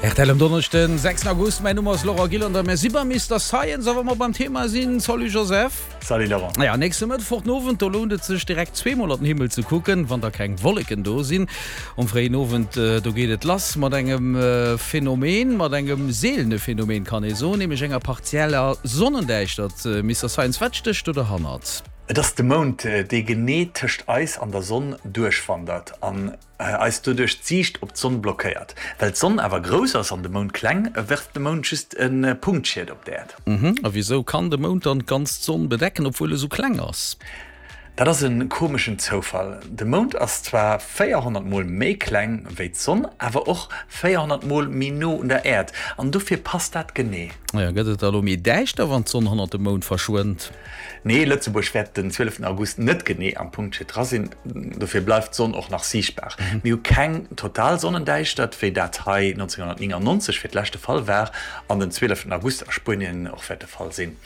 Rtl um Donneschden, 6 August, mäin Numm ass Laurent Gillander, mir si beim Mister Science a wa mer beim Thema sinn, salut Joseph. Salut Laurent. Ja, nächste Mëttwoch den Owend, do lount et sech direkt zweemol an den Himmel ze kucken, wann da keng Wolleken do sinn. Um fréien Owend, do geet et lass mat engem Phänomen, mat engem seelene Phänomen kann ee soen, nämlech enger partieller Sonnendäischtert. Mister Science, wat stécht do derhannert? Et ass de Mound, dee genee tëscht eis an der Sonn duerchwandert an eis doduerch d'Siicht op d'Sonn blockéiert. Well d'Sonn awer grouss ass an de Mound kleng, werft de Mound just e Punktschied op d'Äerd. A wisou kann de Mound dann d'ganz d'Sonn bedecken, obwuel e sou kleng ass? Dat ass e komeschen Zoufall. De Mound ass zwar 400 mol méi kleng wéi d'Sonn, awer och 400 mol méi no un der Äerd, an dofir passt dat genee. Gëtt et da lo méi däischter, wann d'Sonn hannert dem Mound verschwënnt? Nee, Lëtzebuerg wäert den 12 August net genee am Punktschied dra sinn, dofir bleift d'Sonn och nach siichtbar. Mir hu keng total Sonnendäischtert, wéi dat hei 1999 fir d'lescht de Fall war an den 12 August a Spuenien och wäert de Fall sinn.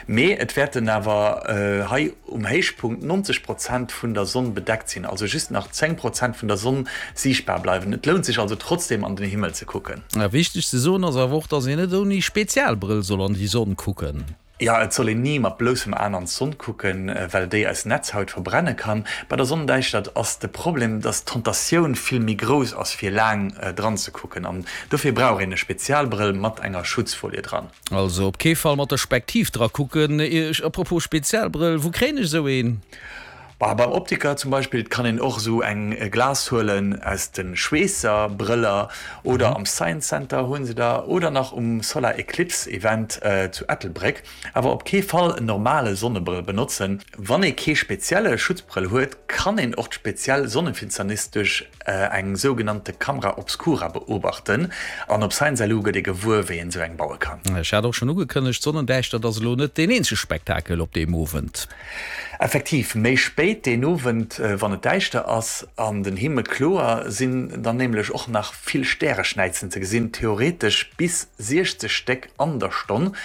Mee et wäerten awer hei um Héichpunkt 90 Prozent vun der Sonn bedeckt sinn, also just nach 10 Prozent vun der Sonn siichtbar bleiwen. Et lount sech also trotzdeem an den Himmel ze kucken. Wichteg ze soen ass awer och, dass een net ouni Spezialbrëll soll an déi Sonn kucken. Jo, et soll een ni mat bloussem Aen an d'Sonn kucken, well déi eis Netzhaut verbrenne kann. Bei der Sonnendäischtert ass de Problem, dass d'Tentatioun vill méi grouss ass fir laang dran ze kucken an dofir brauch een e Spezialbrëll mat enger Schutzfolie dran. Also op kee Fall mat der Spektiv dra kucken. A propos Spezialbrëll, wou kréien ech esou een? Bah, beim Optiker zum Beispill kann een och esou eng Glas huelen aus de Schweesser-Brëller oder am Science Center hunn se der oder nach um Solar Eclipse Event zu Ettelbréck. Awer op kee Fall en normale Sonnebrëll benotzen. Wann ee kee spezielle Schutzbrëll huet, kann een och d'speziell Sonnefinsternis duerch eng sougenannte Camera obscura beobachten. An op ScienceLU gëtt ee gewuer, wéi een esou eng baue kann. Ech hat och schonn ugekënnegt, d'Sonnendäischtert ass elo net deen eenzege Spektakel op deem Owend. Effektiv, méi spéit deen Owend, wann et däischter ass an den Himmel kloer, sinn dann nämlech och nach vill Stäreschnäizen ze gesinn, theoretesch bis 60 Stéck an der Stonn.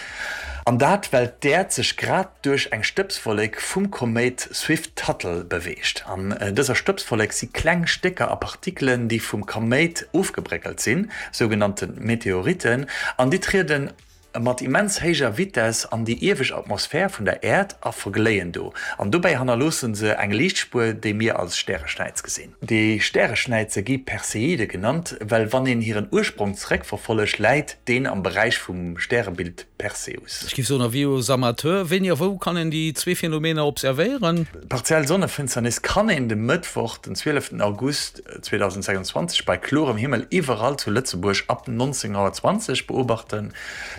An dat well d'Äerd sech grad duerch eng Stëbswollek vum Koméit Swift-Tuttle beweegt. An dëser Stëbswollek si kleng Stécker a Partikelen, déi vum Koméit ofgebréckelt sinn, sougenannte Meteoritten, an déi trieden mat immens héijer Vitess an déi iewescht Atmosphär vun der Äerd a vergléien do. An dobäi hannerloosse se eng Liichtspuer, déi mir als Stäreschnäiz gesinn. Déi Stäreschnäize gi Perseide genannt, well wann een hiren Ursprong zeréckverfollegt, läit deen am Beräich vum Stärebild Perseus. Ech géif soen, Avis aux amateurs, Wéini a wou kann een déi zwee Phänomener observéieren? D'partiell Sonnefinsternis kann een de Mëttwoch, den 12 August 2026, bei klorem Himmel iwwerall zu Lëtzebuerg ab 19.20 Auer beobachten.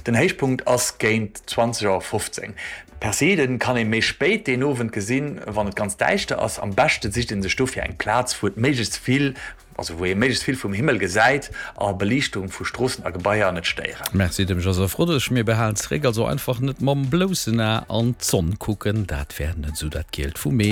Den Héichpunkt ass géint 20.15 Auer. D'Perseiden kann ee méi spéit deen Owend gesinn, wann et ganz däischter ass. Am beschte sicht ee sech dofir eng Plaz, wou et méiglechst vill, also wou ee méiglechst vill vum Himmel gesäit a Beliichtung vu Stroossen a Gebaier net stéieren. Merci dem Joseph Rodesch. Mir behalen zeréck, also einfach net mam bloussen A an d'Sonn kucken, dat wär net esou dat Gielt vum Ee.